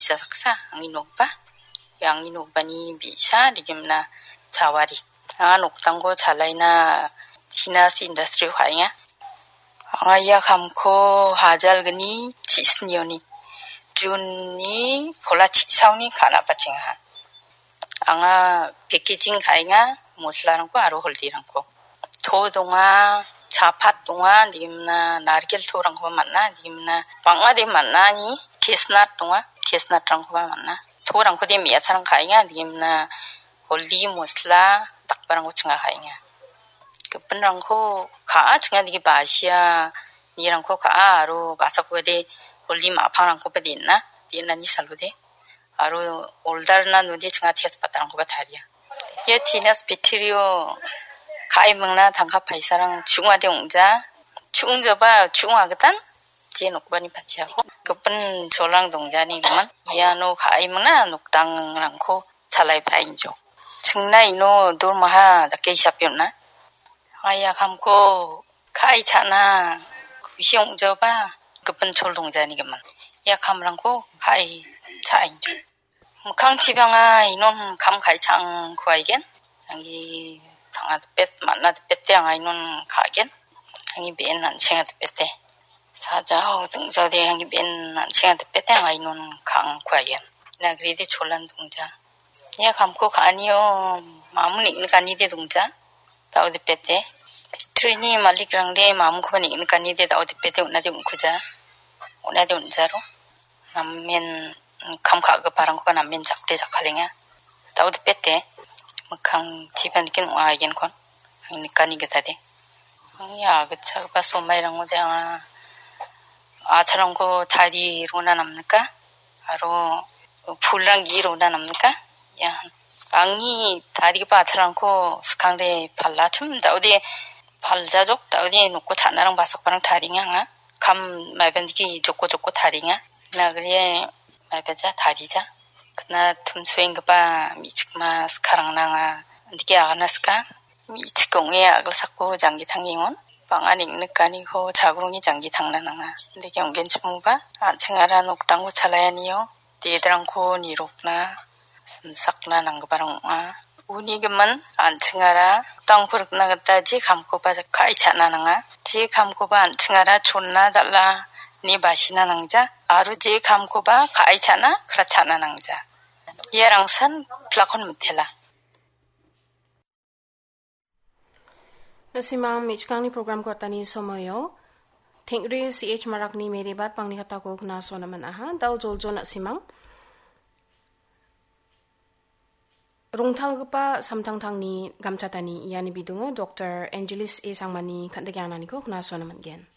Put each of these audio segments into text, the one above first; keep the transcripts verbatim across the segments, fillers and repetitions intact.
gitcha saksa, angni nokba. Ia angni nokbani bi·sa degimna chawari. Anga noktangko chalaina tinasi industry-o ka·enga. Anga ia kamko hajalgni chisnioni, June-ni kola chisaoni ka·na bachengaha. Anga packaging ka·enga, moslarangko aro holdirangko. To donga, chapat donga, degimna narikel torangkoba man·a, degimna bang·a de man·ani, kesnat donga, kesnatrangkoba man·a. Torangko de me·asarang ka·enga, degimna holdi, mosla, dakbarangko chinga ka·enga. Gipinrangko ka·a chinga dege basia nirangko ka·a aro basakode holdi ma·pangrangkoba den·a, den·ani salode. Aro oldarna node chinga tejpattarangkoba taria. Ia tinas factory-o ka·e mingna tangka paisarang chu·ongade ong·ja. Chu·ongjaba chu·ong agitan je nokbani patiako. Gipin cholrang dongjani gimin. Iano ka·e mingna nokdangrangko chalai paengjok. Chingna ino dormaha dake hisape on·a. Anga ia kamko ka·e cha·na ku·bisi ong·jaoba gipin chol dongjani gimin. Ia kamrangko ka·e cha·engjok. Mikkangchibanga inon kam ka·e cha·angko aigen. Anggi tanga dipet, man·a dipete anga inon ka·gen. Anggi be·en an·chenga dipete. Sajao dingjaode anggi be·en an·chenga dipete anga inon ka·angko aigen. Nagride cholan dongja. Ia kamko ka·anio mamun neng·nikani de dongja. Dao dipete. Factory-ni malikrangde mamunkoba neng·nikani de dao dipete on·ade on·kuja. On·ade on·jaro. Namen kam ka·giparangkoba namen jakde jakkalenga. Dao dipete. Mikkangchiba niken ong·a aigenkon. Ang nikani gitade. Angni agitchakgipa somairangode anga a·chalrangko tarie rona namnika. Aro pulrang ge·e rona namnika. Ia, angni tarigipa a·chalrangko skangde palachim, dao de paljajok, dao de noko cha·narang basakbarang tarienga anga. Kam maibandike joko joko tarienga. Nagrie maibaja tarija. Kna tumsuenggipa me·chikma skarangna anga andike agana ska. Me·chik ong·e a·gilsako janggi tangengon. Bang·a neng·nikaniko chagrongni janggi tangna nanga. Andike ong·genchimoba, an·chingara nokdangko chalaianio, dedrangko nirokna, simsakna nanggiparang ong·a. Uni gimin, an·chingara nokdangko rikna gita je kamkoba ka·e cha·na nanga. Je kamkoba an·chingara chonna dal·a ine basina nangja, aro je kamkoba ka·e cha·na, kratchana nangja. Ia rangsan pilakon mitela. Na·simang me·chikrangni programko atani somoio Tengri C H Marakni Meribat pangni katako knaso naman aha, dao joljo na·simang. Rongtalgipa samtangtangni gamchatani iani bidungo Doktor Angelis A Sangmani kan·dike ananiko knaso naman·gen.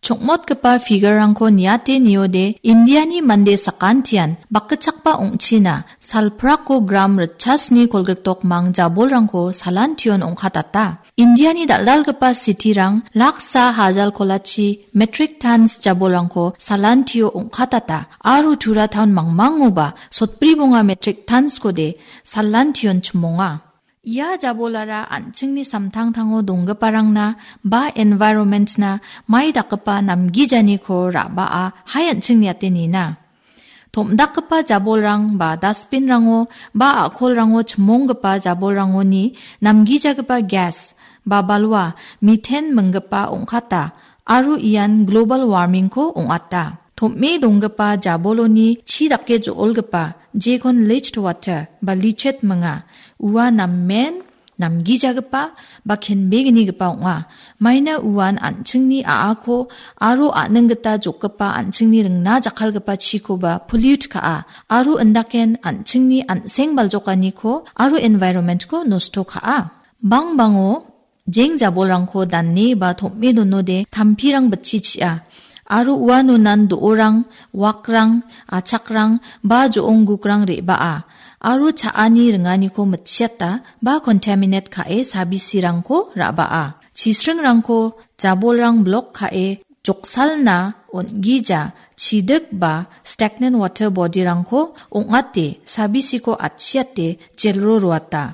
Chokmotgipa figure-rangko niate niode, Indiani mande sakantian bakgitchakba ong·china salprako gram ritchasni kolgriktokmang jabolrangko salantion ong·katata. Indiani dal·dalgipa city-rang laksa hajal kolachi metric tons jabolrangko salantio ong·katata, aro Tura town mangmangoba sotbri bonga metric tons-kode salantion chimonga. Ia jabolara an·chingni samtangtango donggiparangna ba environment-na mai dakgipa namgijaniko ra·baa hai an·ching niate nina. Tom·dakgipa jabolrang ba dustbin-rango ba a·kolrango chimonggipa jabolrangoni namgijagipa gas ba balwa methane minggipa ong·kata aro ian global warming-ko ong·ata. Tom·e donggipa jaboloni chi dake jo·olgipa jekon leached water ba lichet minga. Ua namen namgijagipa ba kenbegnigipa ong·a. Maina uan an·chingni a·ako aro a·ning gita jokgipa an·chingni ringna jakkalgipa chikoba pollute ka·a, aro indaken an·chingni an·seng baljokaniko aro environment-ko nosto ka·a. Bangbango jeng jabolrangko dane ba tom·e donode tampirang bitchi chi·a, aro uanonan do·orang, wakrang, achakrang ba jo·onggukrang re·baa, aro cha·ani ringaniko mitchiata ba contaminate ka·e sabisirangko ra·baa. Chisringrangko jabolrang blok ka·e joksalna on·gija chidik ba stagnant water body-rangko ong·ate sabisiko atchiate jelro roata.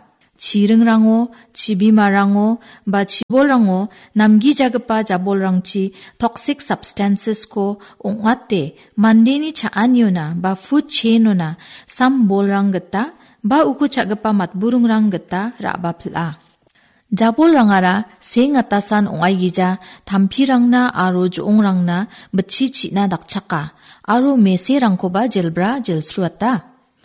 Chiringrango, chibimarango, ba chibolrango namgijagipa jabolrangchi toxic substances-ko ong·ate mandeni cha·aniona ba food chain-ona sam bolrang gita ba uko cha·gipa matburingrang gita ra·bapil·a. Jabolrangara seng atasan ong·aigija tampirangna aro jo·ongrangna bitchi chi·na dakchaka aro meserangkoba jelbra jelsruata.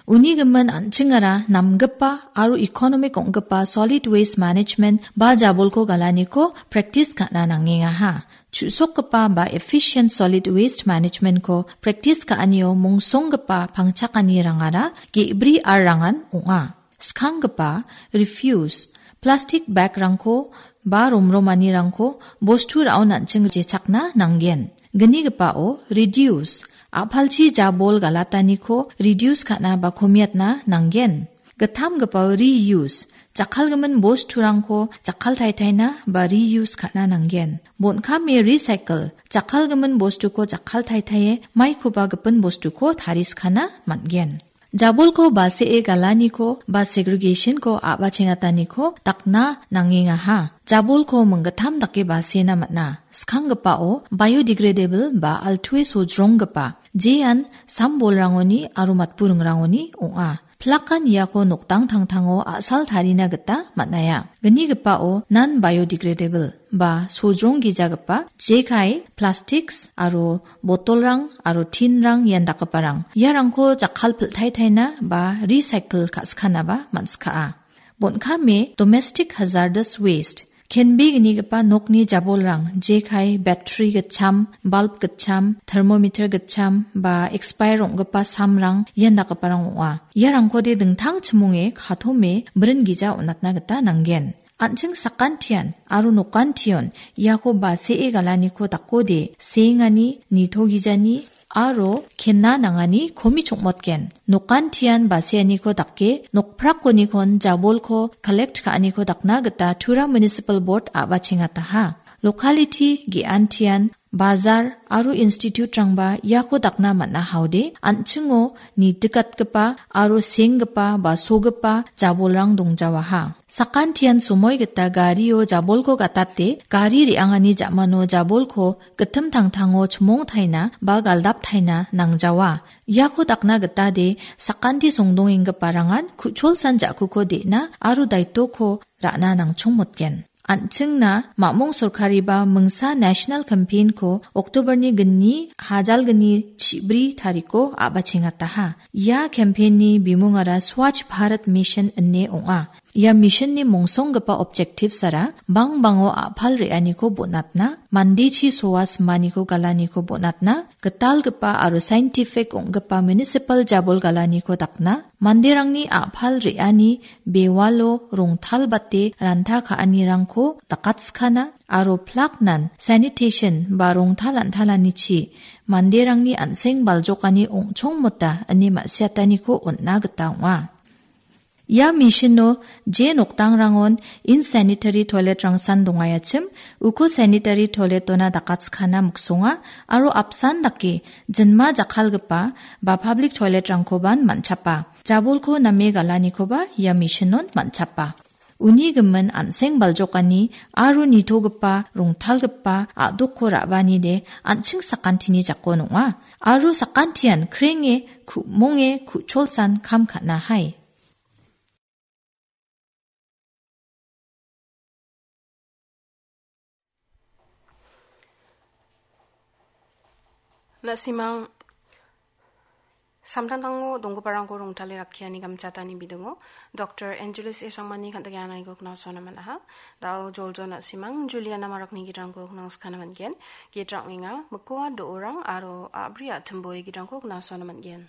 Uni gimin an·chingara namgipa aro economic ong·gipa solid waste management ba jabolko galaniko practice ka·na nangengaha. Chu·sokgipa ba efficient solid waste management-ko practice ka·anio mongsonggipa pangchakanirangara ge·bri R-rangan ong·a. Skanggipa, refuse, plastik bag-rangko ba romromanirangko bostu ra·o an·ching jechakna nanggen. Gnigipao, reduce, a·palchi jabol galataniko reduce ka·na ba komiatna nanggen. Gittamgipao, reuse, jakkalgimin bosturangko jakkaltaitaina ba reuse ka·na nanggen. Bon·kame, recycle, jakkalgimin bostuko jakkaltaitaie maikoba gipin bostuko tariskana man·gen. Jabolko basee galaniko ba segregation-ko a·bachengataniko dakna nangengaha. Jabolko minggittam dake basena man·a. Skanggipao biodegradable ba altue sojronggipa, jean sam bolrangoni aro matburingrangoni ong·a. Plakan iako nokdang tangtango a·sal tarina gita man·aia. Gnigipao non-biodegradable ba sojrong gijagipa jekai, plastics aro botolrang aro tinrang ian dakgiparang. Iarangko jakkal piltaitaina ba recycle ka·sikanaba man·skaa. Bon·kame domestic hazardous waste, kenbe gnigipa nokni jabolrang, jekai, battery gitcham, bulb gitcham, thermometer gitcham ba expire ong·gipa samrang ian dakgiparang ong·a. Iarangkode dingtang chimonge katome brin gija on·atna gita nanggen. An·ching sakantian aro nokantion iako basee galaniko dakode seengani, nitogijani aro kenna nangani komi chongmotgen. Nokantian baseaniko dake nokprakonikon jabolko collect ka·aniko dakna gita Tura Municipal Board a·bachengataha. Locality ge·antian bajar aro institute-rangba iako dakna man·a haode an·chingo nitikatgipa aro senggipa ba sogipa jabolrang dongjawaha. Sakantian somoi gita gario jabolko gatate gari re·angani ja·mano jabolko gittim tangtango chimongtaina ba galdaptaina nangjawa. Iako dakna gitade sakanti songdongenggiparangan ku·cholsan ja·kuko de·na aro daitoko ra·na nangchongmotgen. An·chingna mamung sorkariba mingsa national campaign-ko October-ni gni hajalgni chibri tariko a·bachengataha. Ia campaign-ni bimungara Swachh Bharat Mission ine ong·a. Ia mission-ni mongsonggipa objectives-ara bangbango a·pal re·aniko bonatna, mandechi soa simaniko galaniko bonatna, gitalgipa aro scientific ong·gipa municipal jabol galaniko dakna, manderangni a·pal re·ani bewalo rongtalbate ranta ka·anirangko dakatskana aro plaknan sanitation ba rongtal an·talanichi manderangni an·seng baljokani ong·chongmota ine ma·siataniko on·na gita ong·a. Ia mission-o je nokdangrangon insanitary toilet-rangsan dongaiachim, uko sanitary toilet-ona dakatskana miksonga aro apsan dake jinma jakkalgipa ba public toilet-rangkoban man·chapa. Jabolko name galanikoba ia mission-on man·chapa. Uni gimin an·seng baljokani aro nitogipa, rongtalgipa a·dokko ra·baanide an·ching sakantini jakon ong·a. Aro sakantian krenge, ku·monge, ku·cholsan kam ka·na hai. Na·simang samtangtango donggiparangko rongtale rakkiani gamchatani bidingo Doktor Angeles A. Sangmani kan·dike anaiko knasona man·aha. Da·o joljo na·simang Juliana Marakni gidrangko knangskana man·gen. Gidra ong·enga Mikoa Do·orang aro A·bri A·timboe gidrangko knasona man·gen.